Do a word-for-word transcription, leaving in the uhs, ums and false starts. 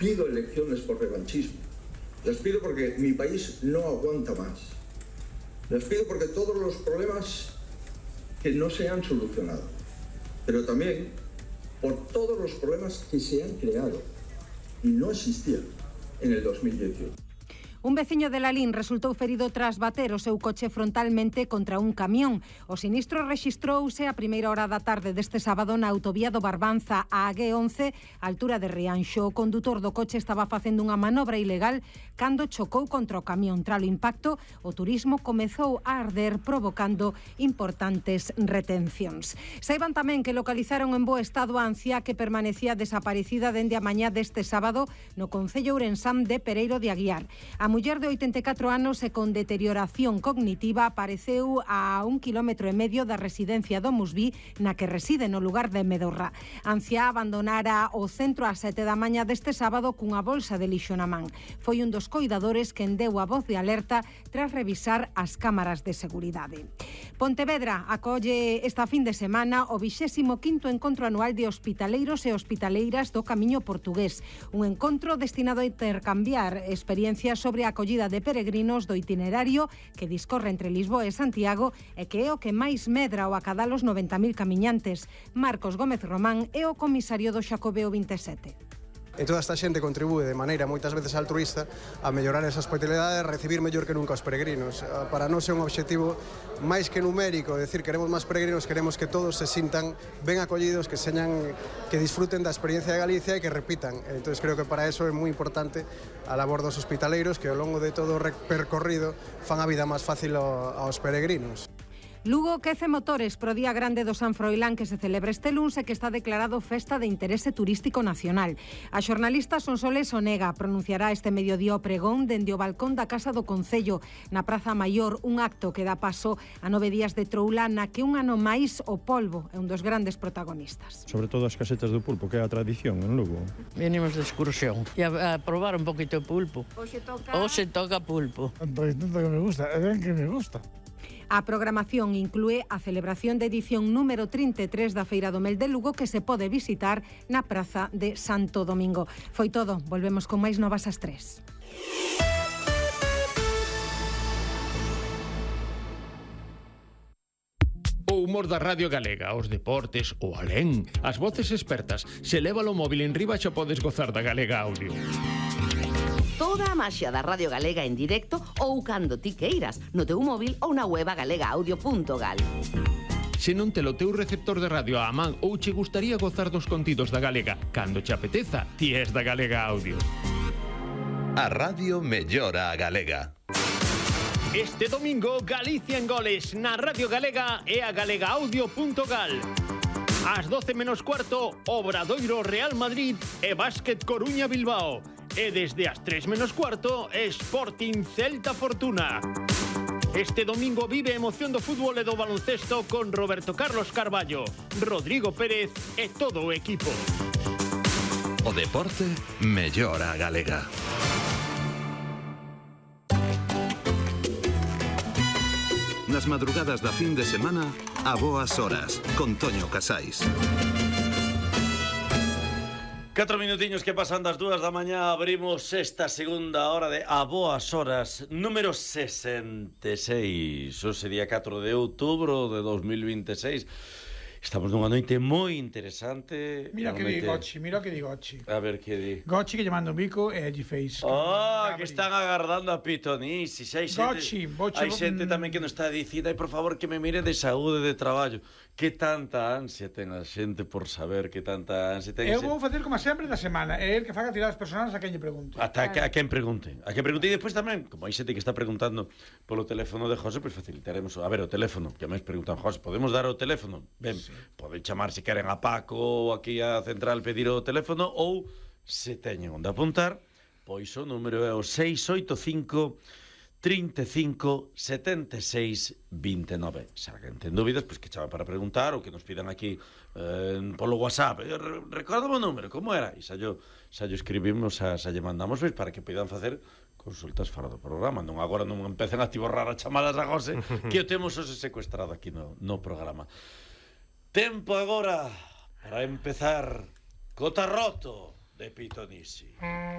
pido elecciones por revanchismo. Las pido porque mi país no aguanta más. Las pido porque todos los problemas que no se han solucionado, pero también por todos los problemas que se han creado y no existían en el dos mil dieciocho. Un veciño de Lalín resultou ferido tras bater o seu coche frontalmente contra un camión. O sinistro rexistrouse a primeira hora da tarde deste sábado na autovía do Barbanza a G once, a altura de Rianxo. O condutor do coche estaba facendo unha manobra ilegal cando chocou contra o camión. Tras o impacto, o turismo comezou a arder, provocando importantes retencións. Saiban tamén que localizaron en bo estado a anciá que permanecía desaparecida dende a mañá deste sábado no concello ourensán de Pereiro de Aguiar. A muller de oitenta e catro anos e con deterioración cognitiva apareceu a un kilómetro e medio da residencia do Musví, na que reside no lugar de Medorra. A anciá abandonara o centro ás sete da mañá deste sábado cunha bolsa de lixo na man. Foi un dos coidadores quen deu a voz de alerta tras revisar as cámaras de seguridade. Pontevedra acolle esta fin de semana o vixésimo quinto encontro anual de hospitaleiros e hospitaleiras do Camiño Portugués, un encontro destinado a intercambiar experiencias sobre a acollida de peregrinos do itinerario que discorre entre Lisboa e Santiago e que é o que máis medra o acadar os noventa mil camiñantes. Marcos Gómez Román é o comisario do Xacobeo vinte e sete. E toda esta xente contribúe de maneira moitas veces altruista a mellorar esa hospitalidade e recibir mellor que nunca os peregrinos. Para nós é un obxectivo máis que numérico, é dicir, queremos máis peregrinos, queremos que todos se sintan ben acollidos, que señan, que disfruten da experiencia de Galicia e que repitan. Entón, creo que para eso é moi importante a labor dos hospitaleiros que ao longo de todo o percorrido fan a vida máis fácil aos peregrinos. Lugo quece motores pro Día Grande do San Froilán que se celebra este luns e que está declarado festa de interese turístico nacional. A xornalista Sonsoles Onega pronunciará este mediodía o pregón dende o balcón da Casa do Concello na Praza Maior, un acto que dá paso a nove días de troula na que un ano máis o polvo é un dos grandes protagonistas. Sobre todo as casetas do pulpo, que é a tradición en Lugo. Venimos de excursión e a, a probar un poquito de pulpo. Hoxe toca... Hoxe toca pulpo. Pois tanto que me gusta, é ben que me gusta. A programación inclúe a celebración de edición número trinta e tres da Feira do Mel de Lugo que se pode visitar na Praza de Santo Domingo. Foi todo, volvemos con máis novas ás tres. O humor da Radio Galega, os deportes, o alén, as voces expertas. Se leva o móvil en riba xa podes gozar da Galega Audio. Toda a maxia da Radio Galega en directo ou cando ti queiras, no teu móvil ou na web galega audio punto gal. Se non te lo teu receptor de radio á man ou che gustaría gozar dos contidos da Galega, cando che apeteza, ti és da Galega Audio. A radio mellora a Galega. Este domingo, Galicia en goles na Radio Galega e a galega audio punto gal. Ás doce menos cuarto, Obradoiro Real Madrid e Básquet Coruña Bilbao. E desde as tres menos cuarto, Sporting Celta Fortuna. Este domingo vive a emoción do fútbol e do baloncesto con Roberto Carlos Carballo, Rodrigo Pérez e todo o equipo. O deporte mellora a Galega. Nas madrugadas da fin de semana, a boas horas, con Toño Casais. Catro minutiños que pasan das dúas da mañá, abrimos esta segunda hora de A Boas Horas, número sesenta e seis. Hoxe día catro de outubro de dos mil vinte e seis. Estamos nunha noite moi interesante. Mira que di Gochi, mira que di Gochi. A ver que di. Gochi que lle manda un bico e lle fez. Oh, que están agardando a Pitonisi. Hai xente, Gochi, Gochi, hai xente tamén que nos está dicindo, ai, por favor, que me mire de saúde, de traballo. Que tanta ansia ten a xente por saber, que tanta ansia ten. Eu vou facer como sempre da semana, é el que faga tirar as personas a quen lle pregunte. Ata a, a quen pregunte. A quen pregunte e despois tamén, como hai xente que está preguntando polo teléfono de José, pois facilitaremos, a ver, o teléfono, que máis preguntan, José, podemos dar o teléfono? Ben, sí. Poden chamar se queren a Paco ou aquí a central pedir o teléfono, ou se teñen onde apuntar, pois o número é o seis oito cinco, trinta e cinco, setenta e seis, vinte e nove. Se alguén ten dúbidas, pois que chama para preguntar ou que nos pidan aquí eh, polo WhatsApp. Eh, Recordame o número, como era? E xa yo, xa yo escribimos, xa, xa lle mandamos, pois, para que poidan facer consultas fora do programa. Non agora non empecen a tiborrar as chamadas a José, que o temos hoxe secuestrado aquí no, no programa. Tempo agora para empezar co tarroto de Pitonisi.